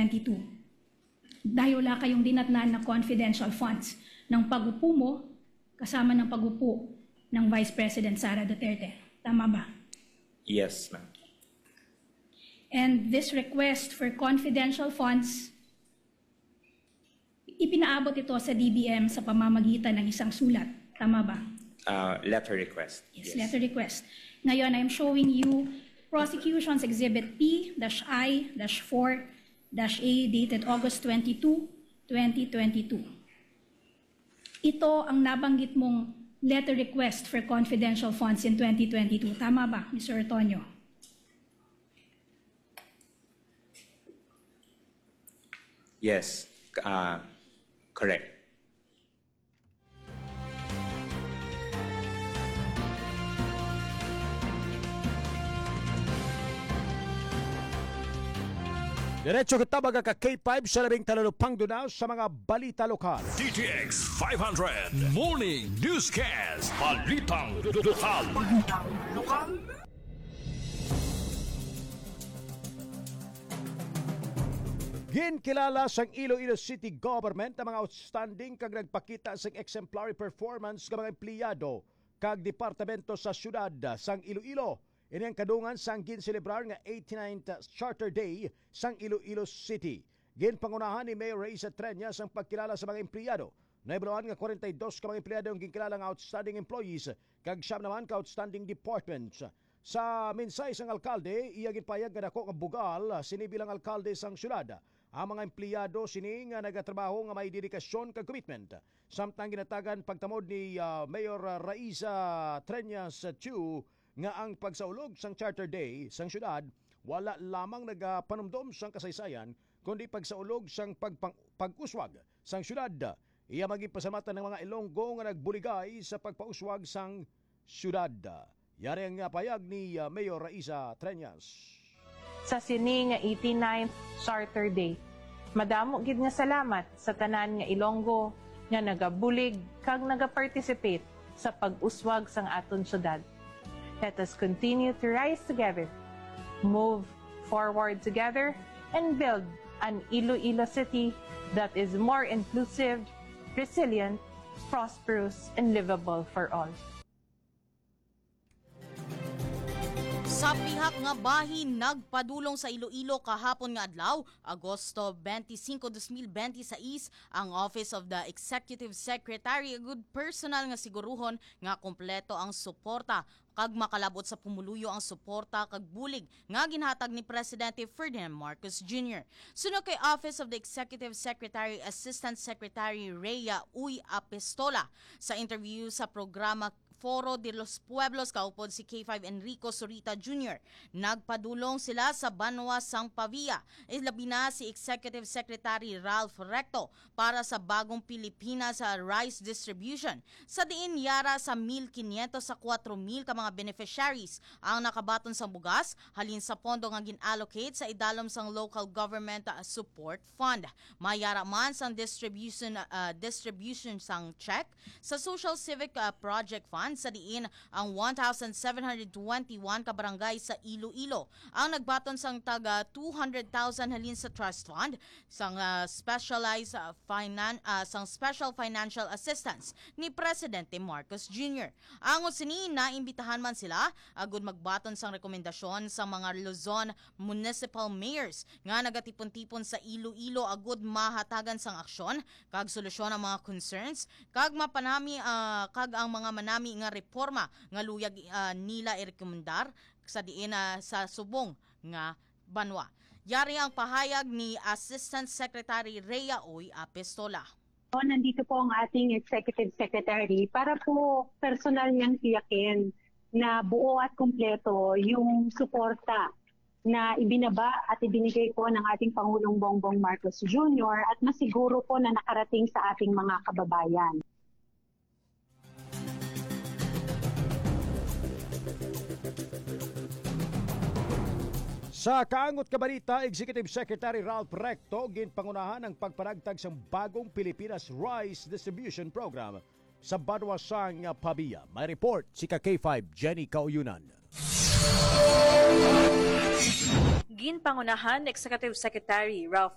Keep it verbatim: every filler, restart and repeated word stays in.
twenty-two. Dahil wala kayong dinatnan na confidential funds ng pag-upo mo kasama ng pag-upo ng Vice President Sara Duterte. Tama ba? Yes, ma'am. And this request for confidential funds, ipinaabot ito sa D B M sa pamamagitan ng isang sulat. Tama ba? Uh, letter request. Yes, letter request. Ngayon, I'm showing you Prosecution's Exhibit P dash I dash four dash A dated August twenty-two, twenty twenty-two. Ito ang nabanggit mong letter request for confidential funds in twenty twenty-two. Tama ba, Mister Antonio? Yes, uh, correct. Diretso kita, mga ka K five, sa labing talulupang duna sa mga balita lokal. D T X five hundred Morning Newscast. Balitang lokal. Ginkilala sang Iloilo City Government ang mga outstanding kag nagpakita sing exemplary performance nga mga empleyado kag departamento sa siyudad sang Iloilo. Ini ang kadungan sang ginselebrar nga eighty-ninth Charter Day sang Iloilo City. Ginpangunahan ni Mayor Raisa Treñas ang pagkilala sa mga empleyado. Nahibaluan nga kwarenta y dos ka mga empleyado ang ginkilala nga outstanding employees kag siyam naman ka outstanding departments. Sa mensahe sang alkalde, iya ginpahayag nga dako nga bugal sini bilang alkalde sang siyudad. Ang mga empleyado sini nga nagatrabaho nga may dedikasyon kag commitment. Samtang ginatagan pagtamod ni, ah, Mayor Raisa Treñas Chu nga ang pagsaulog sang Charter Day sang siyudad wala lamang nagapanumdom sang kasaysayan, kundi pagsaulog sang pagpang-, pag-uswag sang siyudad. Iya man ginpasalamatan ang mga Ilonggo nga nagbuligay sa pagpauswag sang siyudad. Yari ang, ah, payag ni, ah, Mayor Raisa Treñas. Sa sini nga eighty-ninth Charter Day, madamo gid nga salamat sa tanan nga Ilonggo nga nagabulig kag nagaparticipate sa pag-uswag sang aton syudad. Let us continue to rise together, move forward together, and build an Iloilo City that is more inclusive, resilient, prosperous, and livable for all. Sa pihak nga bahin, nagpadulong sa Iloilo kahapon nga adlaw, Agosto twenty-five, twenty twenty-six, ang Office of the Executive Secretary, agud personal nga siguruhon nga kompleto ang suporta kag makalab-ot sa pumuluyo ang suporta kag bulig nga ginhatag ni Presidente Ferdinand Marcos Junior. Suno kay Office of the Executive Secretary, Assistant Secretary Rhea Uy Apestola, sa interview sa programa Foro de los Pueblos kaupod si K five Enrico Zurita Junior. Nagpadulong sila sa banwa sang Pavia, ilabi na si Executive Secretary Ralph Recto para sa bagong Pilipinas, ah, rice distribution, sa diin yara sa mil kinyentos sa kwatro mil ka mga beneficiaries ang nakabaton sang bugas halin sa pondo nga gin-allocate sa idalom sang Local Government, ah, Support Fund. May yara man sang distribution, ah, distribution sang check sa Social Civic, ah, Project Fund, sa diin ang one thousand seven hundred twenty-one ka barangay sa Iloilo ang nagbaton sang taga two hundred thousand halin sa Trust Fund sang, ah, specialized, ah, finan-, ah, sang special financial assistance ni Presidente Marcos Junior. Angot sini, naimbitahan man sila agud magbaton sang rekomendasyon sa mga Luzon municipal mayors nga nagatipon-tipon sa Iloilo agud mahatagan sang aksyon kag solusyon ang mga concerns kag mapanami, ah, kag ang mga manami nga reporma nga luyag, ah, nila irekomendar sa diin, ah, sa subong nga banwa. Yari ang pahayag ni Assistant Secretary Rhea Uy Apestola. Nandito po ang ating Executive Secretary para po personal niyang tiyakin na buo at kumpleto yung suporta na ibinaba at ibinigay po ng ating Pangulong Bongbong Marcos Junior at masiguro po na nakarating sa ating mga kababayan. Sa kaangot nga balita, Executive Secretary Ralph Recto ginpangunahan ang pagpanagtag sang bagong Pilipinas Rice Distribution Program sa banwa sang Pavia. May report si ka K five Jenny Kauyunan. Ginpangunahan ni Executive Secretary Ralph